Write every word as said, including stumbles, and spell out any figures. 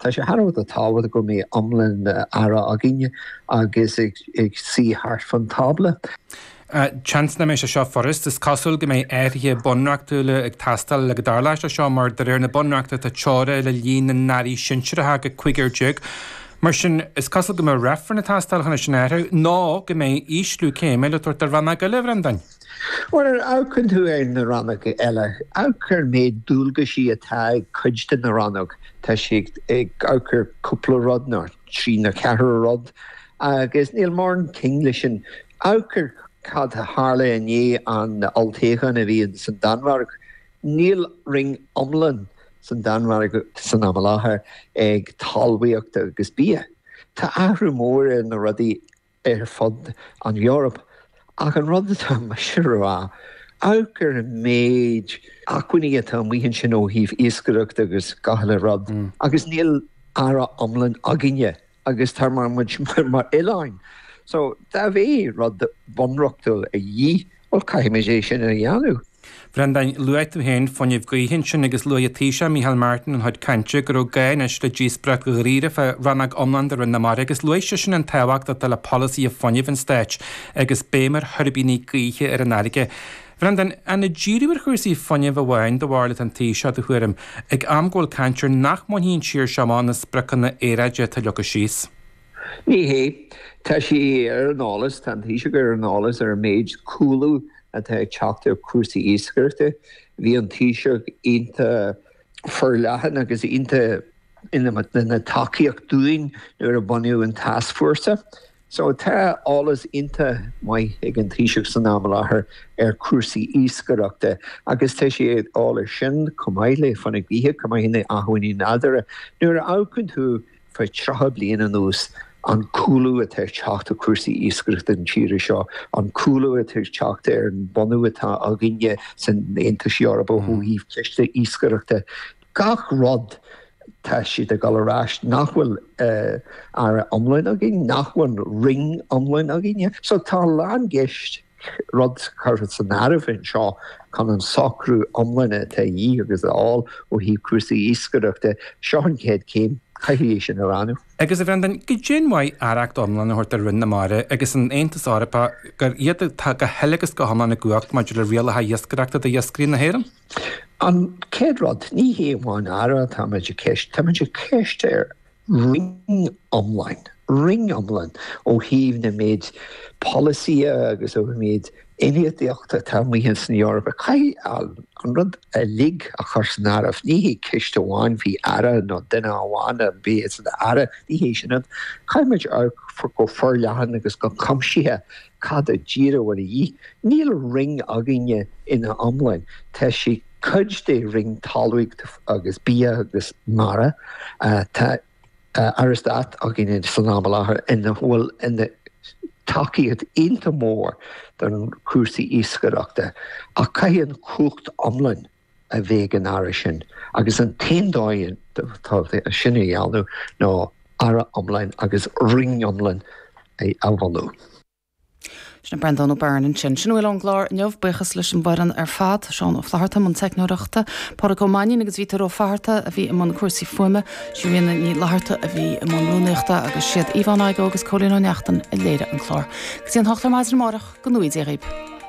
Tá sé thar a bheith tábhachtach go mbeidh iomlán aire againne agus ag ag suí thart fan tábla. Seans nach mbeidh sé seo furast, is cosúil go mbeidh athruithe bunreachtúla ag teastáil le go dtarlóidh sé seo mar de réir na bunreachta tá teora le líon na n-airí sinsearacha go cúigear déag. Mar sin, is cosúil go mbeidh reifreann ag teastáil chun é sin a athrú nó go mbeidh ísliú céime le tabhairt do rannóg eile, a Bhreandáin. Bhuel, nuair a amharcann tú ar na rannóga eile, amharc ar an méid dualgaisí atá ag cuid de na rannóg. Tá sé ag amharc ar cúpla rud nó trí nó ceathair rud agus níl mórán ceangal leis sin. Amharc ar cad a tharla i ndiaidh an olltoghcháin a bhí san Danmhairg. Níl roinn iomlán san Danmhairg san am i láthair ag talmhaíocht agus bia. Tá athrú mór ar na rudaí ar fud an Eoraip. Ach an rud atá mise a rá, amharc ar an méid acmhainní atá amuigh ansin ó thaobh iascaireachta agus gach uile rud agus níl aire iomlán againne. agus tá mar muid mar oileáin. So dá mbeadh rud bunreachtúil a dhíth, bhuel caithfimid é sin a dhéanamh. Bhreandáin, luaigh tú féin fuinneamh gaoithe ansin agus luaigh an Taoiseach Micheál Martin ina chuid cainte go raibh gá anois le díospóireacht dháiríre fá rannóg iomlán de Roinn na Mara agus luaigh seisean an tábhacht atá le polasaithe fuinnimh an stáit agus béim ar thuirbíní gaoithe ar an fharraige. Bhreandáin, an ag díriú ar chúrsaí fuinnimh amháin do bharúil atá an Taoiseach, do thuairim, ag am go bhfuil caint ar nach mbainfidh an tír seo amach na spriocanna aeráide atá leagtha síos? Ní hé. Tá sé ar an eolas, tá an Taoiseach ar an eolas ar an méid cúlú atá ag teacht ar chúrsaí iascaireachta. Bhí an Taoiseach iontach forleathan agus iontach ina tacaíocht dúinn nuair a bunaíodh an tascfhórsa. So tá eolas iontach maith ag an Taoiseach san am i láthair ar chúrsaí iascaireachta agus tá sé ag dul ar sin chomh maith le fuinneamh gaoithe, chomh maith le acmhainní nádúrtha. Nuair a amharcann tú fá tríocha bliain anuas, an cúlú atá ag teacht ar chúrsaí iascaireachta na tíre seo, an cúlú atá ag teacht ar an bunú atá againne san Aontas Eorpach ó thaobh ceiste iascaireachta, gach rud tá siad ag dul ar ais nach bhfuil aire iomlán againn, nach bhfuil roinn iomlán againne. So tá a lán gceist rud curtha san áireamh anseo chun an socrú iomlán atá a dhíth agus a fháil ó thaobh cúrsaí iascaireachta. Seo an chéad chéim, caithfidh é sin a roghnú. Agus a Bhreandáin, goidé an mhaith aireacht iomlán a thabhairt do Roinn na Mara agus an Aontas Eorpach gur iad atá go huile agus go hiomlán i gcumhacht maidir le rialacha iascaireachta d'iascairí na hÉireann? An chéad rud, ní hé amháin aire atáimid ag ceist, táimid ag ceist ar roinn iomlán, roinn iomlán ó thaobh na méid polasaithe agus ó méid infheistíochta atá amuigh san Eoraip. Caithfidh an rud uilig a chur san áireamh. Ní hé ceist amháin faoi aire nó duine amháin a bheith san aire, ní hé sin. Caithfimid amharc go forleathan agus go cuimsithe cad a díreach bhfuil a dhíth. Níl roinn againne ina iomlán. Tá sé cuid de roinn talmhaíochta agus bia agus mara. Tá Aire Stáit againne san am i láthair ina bhfuil ina tacaíocht iontach mór don chúrsaí iascaireachta ach caithfidh an chumhacht iomlán a bheith ag an Aire sin agus an t-aon dóigh atá sin a dhéanamh ná Aire iomlán agus roinn iomlán a bhunú. Sin Breandán Ó Beirn ansin. Sin a bhfuil ón gclár inniu, buíochas leis an bhfoireann ar fad, Seán Ó Flatharta i mbun teicneoireachta, Pádraig Ó Mainnín agus Vítear Ó Fatharta a bhí i mbun cúrsaí fuaime, Ríona Ní Fhlatharta a bhí i mbun rúnaíochta agus siad Yvonne Igoe agus Cóilín Ó Neachtain a léirigh an clár. Go dtí an hocht ar maidin amárach, go ngnóthaí Dia dhaoibh.